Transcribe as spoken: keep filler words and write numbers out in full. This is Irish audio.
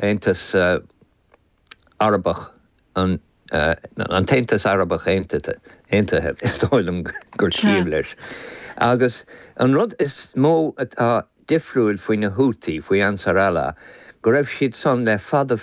Aontas uh, Arabach an uh, an tAontas Arabach Aontaithe Aontaithe is dóigh liom gur ciall leis. Agus an rud is mó atá difriúil faoi na Houthi faoi Ansar Allah, go raibh siad san le fada